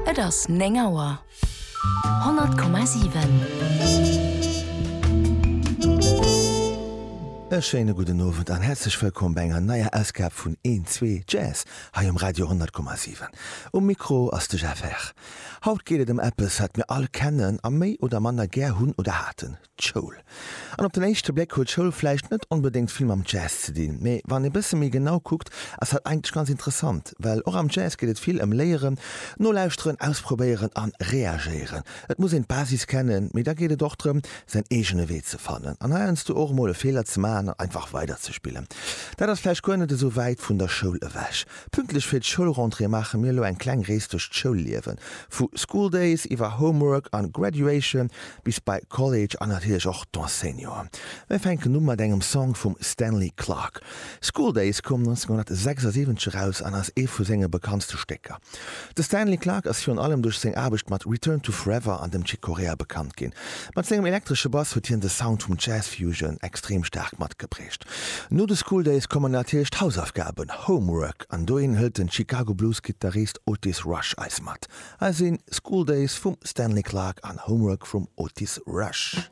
Et ass 9 Auer. 100,7. E schéine gudden Owend an häerzlech wëllkomm bei enger neier Ausgab vun Een, Zwee, Jazz hei um Radio 100,7. Um Mikro ass de Jeff Herr. Haut geet et ëm eppes, wat mir all kennen a méi oder manner gär hunn oder haten, D'Schoul. An op den éischte Bléck huet Schoul vläicht net onbedéngt vill mam Jazz ze dinn, mee wann ee bësse méi genau kuckt, ass dat eigentlech ganz interessant, well och am Jazz geet et vill ëm Léieren, Nolauschteren, Ausprobéieren an Reagéieren. Et muss een d'Basis kennen, mee da geet et och drëm, säin eegene Wee ze fannen an heiansdo och emol e Feeler ze maachen an einfach weider ze spillen. Dat ass vläicht guer net esou wäit vun der Schoul ewech. Pünktlech fir d'Schoulrentrée maache mir elo eng kleng Rees duerch d'Schoulliewen. Vu School Days iwwer Homework an Graduation bis bei College an natierlech och d'Enseignanten. Mir fänken u mat engem Song vum Stanley Clarke. School Days koum 1976 eraus an ass ee vu senge bekanntste Stécker. De Stanley Clarke ass virun allem duerch seng Aarbecht mat Return to Forever an dem Chick Corea bekannt ginn. Mat sengem elektresche Bass huet hien de Sound vum Jazz Fusion extrem staark matgeprägt. No de School Days kommen natierlech d'Hausaufgaben, Homework, an dohin hëlt den Chicago Blues Gittarist Otis Rush eis mat. Hei sinn School Days vum Stanley Clarke an Homework vum Otis Rush.